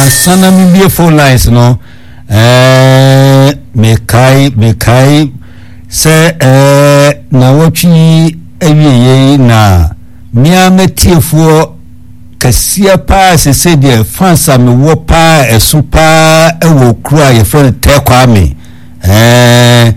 Ansa na mebie phone lines no, ɛɛ mekae mekae sɛ ɛɛ nawɔtwe yi awieɛ yi na mmea matiefoɔ kɛseɛ paa sese deɛ fans a mewɔ paa ɛso paa ɛwɔ kuro a yɛfrɛ no Tɛkwame ɛɛ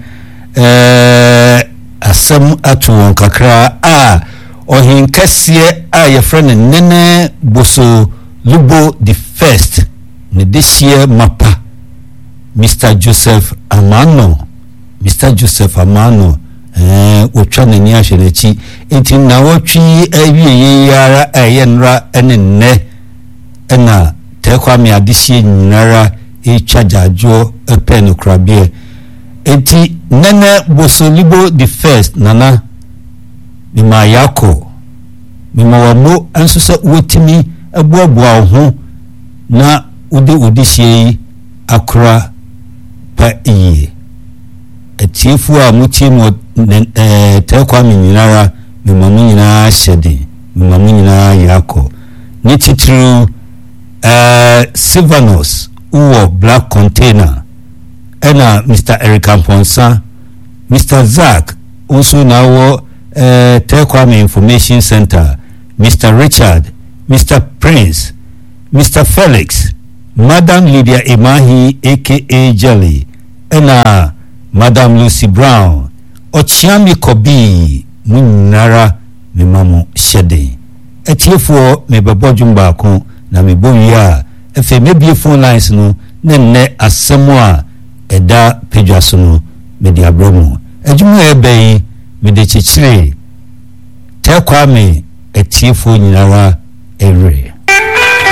ɛɛ asɛm ato wɔn kakra a ɔhenkɛseɛ a yɛfrɛ no Nene Boso Lubo the first ne dehyeɛ mapa Mister Joseph Amano Mister Joseph Amano ɛɛ wɔtwa n'ani ahwɛ n'akyi nti nnawɔtwe yi awieɛ yi ara a ɛyɛ nnora ne nnɛ ɛna Tɛkwame adehyeɛ nyinara retwa gyaadwoɔ pɛ no korabeɛ nti Nene Boso Lubo the first Nana mema Yako Mema wo amo nso sɛ woatumi aboaboa wo ho na wode wo dehyeɛ yi akora pa yie. Atiefoɔ a motie me wɔ Tɛɛ Kwame nyinara, mema mo nyinaa hyɛ den, mema mo nyinaa yakɔ. Ne titiriw eh, Silvanus wowɔ Black Container, ɛna Mister Eric Amponsah, Mister Zack wo nso na wowɔ eh, Tɛ Kwame Information Center, Mister Richard, Mister Prince, Mister Felix, Madam Lydia Emahi aka Jelly, ɛna Madam Lucy Brown, Ɔkyeame Kɔbii, mo nyinara mema mo hyɛden. Atiefoɔ mebɛbɔ dwom baako na mebɔ wie a, afei mɛbue phone lines no na nnɛ asɛm a ɛda padwa so no mede abrɛ mo. Adwuma a ɛreba yi mede kyekyere Tɛ Kwame atiefoɔ nyinara werɛ.